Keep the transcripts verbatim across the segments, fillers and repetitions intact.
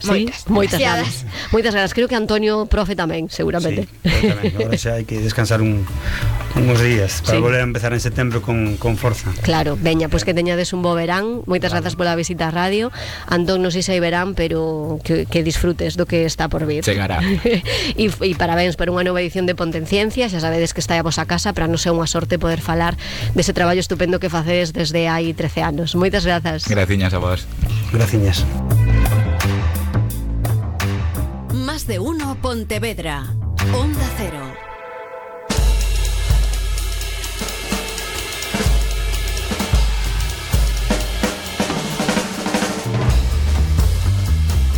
Sí, moitas, moitas demasiadas. ganas. Moitas ganas. Creo que Antonio, profe, tamén, seguramente. Sí, tamén. Agora xa hai que descansar un, uns días para Sí. volver a empezar en setembro con, con forza. Claro, veña, pois pues que teñades un bo verán. Moitas Claro. grazas pola visita á radio. Antón, non sei se hai verán, pero que, que disfrutes do que está por vir. Chegará. E, e parabéns por unha nova edición de Ponte en Ciencia. Xa sabedes que está a vosa casa, para non ser unha sorte poder falar dese traballo estupendo que facedes desde hai trece anos. Moitas grazas. Graciñas a vos. Graciñas. Más de uno Pontevedra. Onda Cero.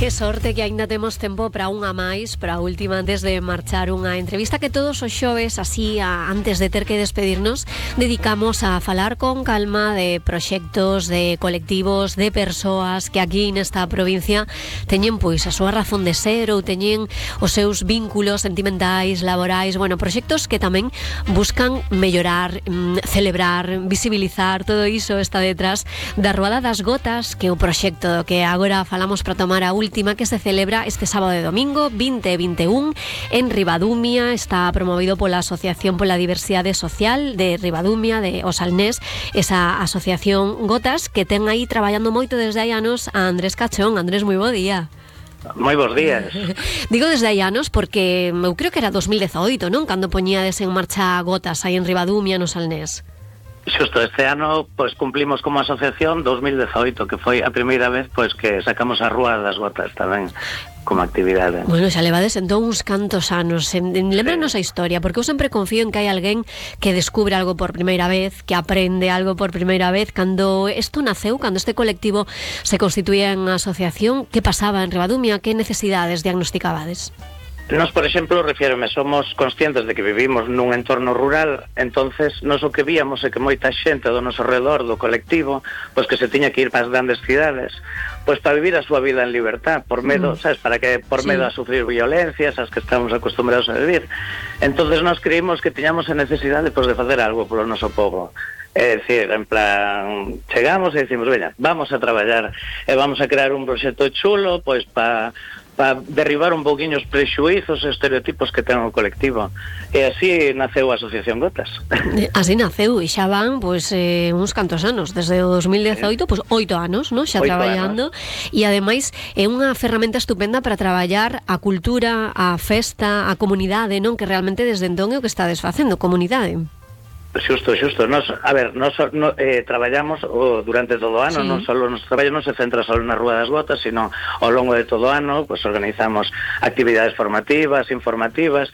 Que sorte que aínda temos tempo para unha máis, para a última antes de marchar, unha entrevista que todos os xoves, así a, antes de ter que despedirnos, dedicamos a falar con calma de proxectos, de colectivos, de persoas que aquí nesta provincia teñen pois a súa razón de ser ou teñen os seus vínculos sentimentais, laborais, bueno, proxectos que tamén buscan mellorar, mm, celebrar, visibilizar, todo iso está detrás da Ruada das Gotas, que é o proxecto que agora falamos para tomar a última, que se celebra este sábado e domingo vinte e vinte e un en Ribadumia. Está promovido pola Asociación pola Diversidade Social de Ribadumia, de Osalnés, esa asociación Gotas, que ten aí traballando moito desde hai anos a Andrés Cachón. Andrés, moi bo día. Moi bons días. Digo desde hai anos porque eu creo que era dos mil dezaoito, non? Cando poñíades en marcha Gotas aí en Ribadumia, no Salnés. Xusto este ano pois cumplimos como asociación dos mil dezaoito, que foi a primeira vez pois que sacamos a Rúa das Gotas tamén como actividade. Bueno, xa levades entón uns cantos anos. Lembranos a historia, porque eu sempre confío en que hai alguén que descubre algo por primeira vez, que aprende algo por primeira vez. Cando isto naceu, cando este colectivo se constituía en asociación, que pasaba en Ribadumia? Que necesidades diagnosticabades? Nos, por exemplo, refiérome, somos conscientes de que vivimos nun entorno rural, entonces nos o que víamos é que moita xente do noso redor do colectivo, pois que se tiña que ir para as grandes cidades, pois para vivir a súa vida en libertad, por medo, mm. sabes, para que por medo sí. a sufrir violencias, as que estamos acostumbrados a vivir. Entonces nos creímos que tiñamos a necesidade pois de facer algo polo noso povo. É dicir, en plan, chegamos e dicimos, veña, vamos a traballar e vamos a crear un proxecto chulo, pois para para derribar un poquinho os prexuízos e estereotipos que ten o colectivo. E así naceu a Asociación Gotas. Así naceu, e xa van pois, eh, uns cantos anos, desde o dos mil dezaoito, pois oito anos, non? Xa traballando, e ademais é unha ferramenta estupenda para traballar a cultura, a festa, a comunidade, non? Que realmente desde entón é o que estades facendo, comunidade. Xusto, xusto. Nos, a ver, nos no, eh, traballamos o, durante todo o ano, sí. non solo nos traballo non se centra só na Rúa das Gotas, sino ao longo de todo o ano, pues organizamos actividades formativas, informativas,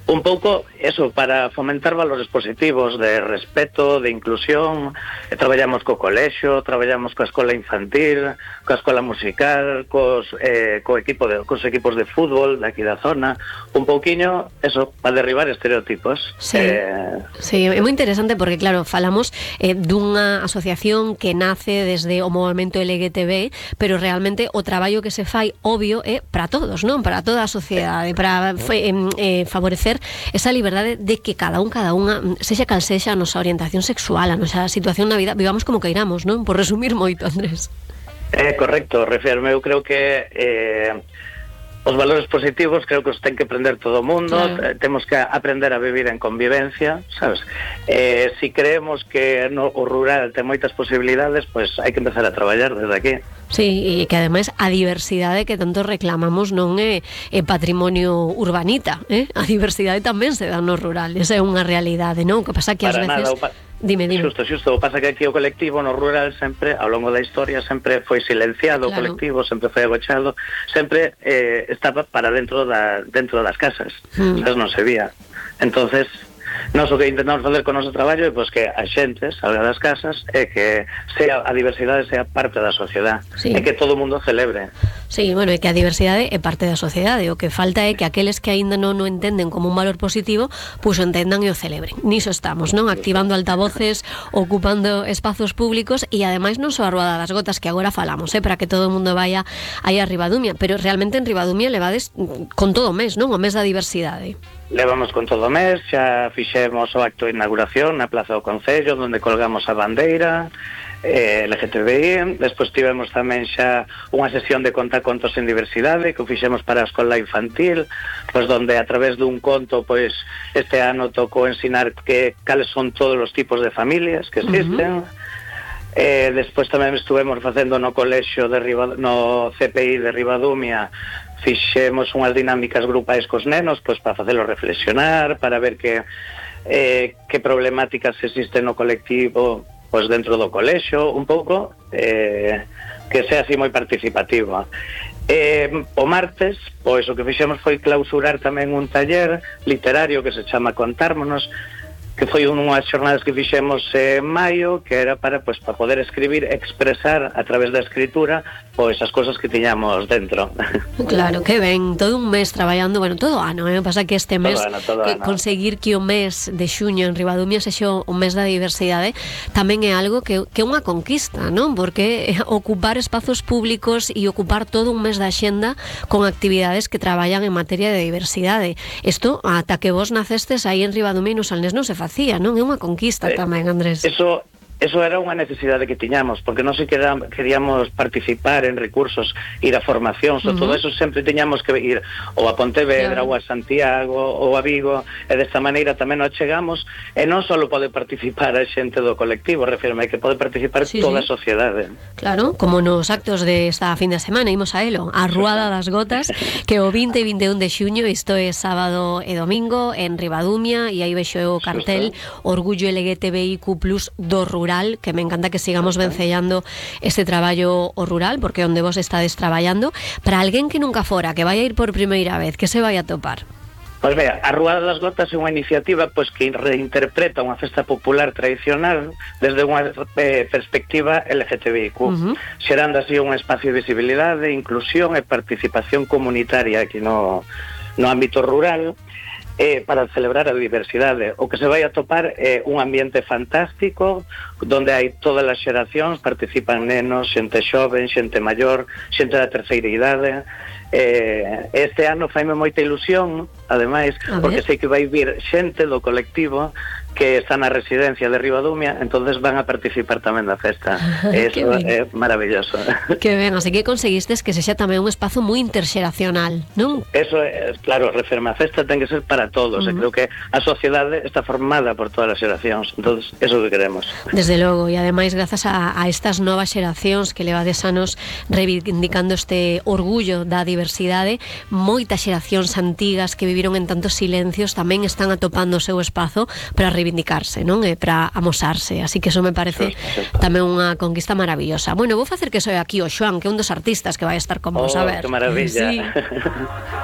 un pouco eso, para fomentar valores positivos de respeto, de inclusión. E traballamos co colexio, traballamos coa escola infantil, coa escola musical, cos, eh, co equipo de, cos equipos de fútbol de aquí da zona, un pouquiño, eso, para derribar estereotipos. Sí, eh, sí, é moi interesante porque, claro, falamos eh, dunha asociación que nace desde o movimento L G T B, pero realmente o traballo que se fai, obvio, é para todos, non? Para toda a sociedade, para eh, eh, favorecer esa liberdade de que cada un, cada unha, sexa cal sexa a nosa orientación sexual, a nosa situación na vida, vivamos como queiramos, non? Por resumir moito, Andrés. É eh, correcto, refirme, eu creo que eh, os valores positivos creo que os ten que aprender todo o mundo, claro. Temos que aprender a vivir en convivencia, sabes? Eh, si creemos que no, o rural ten moitas posibilidades, pois pues hai que empezar a traballar desde aquí. Sí, e que ademais a diversidade que tanto reclamamos non é, é patrimonio urbanita, eh? A diversidade tamén se dá no rural, esa é unha realidade, non? O que pasa que ás veces... Nada, pa... Dime, dime. Xusto, xusto, o pasa que aquí o colectivo no rural sempre, ao longo da historia, sempre foi silenciado, claro. O colectivo sempre foi agochado, sempre eh, estaba para dentro da dentro das casas, mm. Entonces non se vía. Entonces, nós o que intentamos facer con o noso traballo é pois, que a xente salga das casas e que sea, a diversidade sea parte da sociedade, sí. E que todo o mundo celebre. Sí, bueno, e que a diversidade é parte da sociedade. O que falta é que aqueles que aínda non o entenden como un valor positivo, pois o entendan e o celebren. Niso estamos, non? Activando altavoces, ocupando espazos públicos e ademais non só a Ruada das Gotas que agora falamos, eh, para que todo o mundo vaya aí a Ribadumia, pero realmente en Ribadumia levades con todo o mes, non? O mes da diversidade. Levamos con todo o mes, xa fixemos o acto de inauguración na Plaza do Concello, onde colgamos a bandeira, eh, L G T B I. Despois tivemos tamén xa unha sesión de contar contos en diversidade que o fixemos para a escola infantil, pois donde a través dun conto, pois este ano tocou ensinar que cales son todos os tipos de familias que existen. Uh-huh. Eh, despois tamén estuvemos facendo no colexio de Riba, no C P I de Ribadumia, fixemos unhas dinámicas grupais cos nenos, pois para facelos reflexionar, para ver que eh, que problemáticas existen no colectivo pois dentro do colexio, un pouco eh, que sea así moi participativo. Eh, o martes, pois o que fixemos foi clausurar tamén un taller literario que se chama Contármonos, que foi unhas xornadas que fixemos en maio, que era para pois para poder escribir, expresar a través da escritura pois as cousas que tiñamos dentro. Claro, que ben, todo un mes traballando, bueno, todo ano, eh? Pasa que este mes todo ano, todo que ano. Conseguir que o mes de xuño en Ribadumia sexa o mes da diversidade tamén é algo que, que é unha conquista, non? Porque ocupar espazos públicos e ocupar todo un mes da xenda con actividades que traballan en materia de diversidade. Isto, ata que vos nacestes aí en Ribadumia e nos Salnés non se facía, non? É unha conquista eh, tamén, Andrés. Eso Eso era unha necesidade que tiñamos, porque non se queríamos participar en recursos, ir a formacións, uh-huh. todo eso sempre tiñamos que ir ou a Pontevedra, claro. ou a Santiago, ou a Vigo, e desta maneira tamén nos chegamos, e non só pode participar a xente do colectivo, refírme, que pode participar sí, toda sí. a sociedade. Claro, como nos actos de esta fin de semana, imos a elo, a Ruada das Gotas, que o vinte e vinte e un de xuño, isto é sábado e domingo, en Ribadumia, e aí vexo o cartel Orgullo L G T B I Q plus do Rural, que me encanta que sigamos vencellando este traballo o rural, porque onde vos estades traballando. Para alguén que nunca fora, que vai a ir por primeira vez, que se vai a topar? Pois vea, a Ruada das Gotas é unha iniciativa pois que reinterpreta unha festa popular tradicional desde unha eh, perspectiva L G T B I Q, uh-huh. xerando así un espacio de visibilidade, inclusión e participación comunitaria aquí no, no ámbito rural, Eh, para celebrar a diversidade. O que se vai a topar é un ambiente fantástico donde hai todas as xeracións, participan nenos, xente xoven, xente maior, xente da terceira idade. Eh, este ano faime moita ilusión, ademais, porque sei que vai vir xente do colectivo que está na residencia de Ribadumia, entonces van a participar tamén da festa. Eso é maravilloso. Que ben, así que conseguistes que sexa tamén un espazo moi interxeracional, non? Eso é, claro, referma, a festa ten que ser para todos, uh-huh. e creo que a sociedade está formada por todas as xeracións, entonces eso que queremos. Desde logo, e ademais grazas a, a estas novas xeracións que levades anos reivindicando este orgullo da diversidade, moitas xeracións antigas que viviron en tantos silencios tamén están atopando o seu espazo para reivindicarse, non? E para amosarse, así que eso me parece tamén unha conquista maravillosa. Bueno, vou facer que soe aquí o Xoan, que é un dos artistas que vai estar con vos, oh, a ver. Que maravilla. Sí.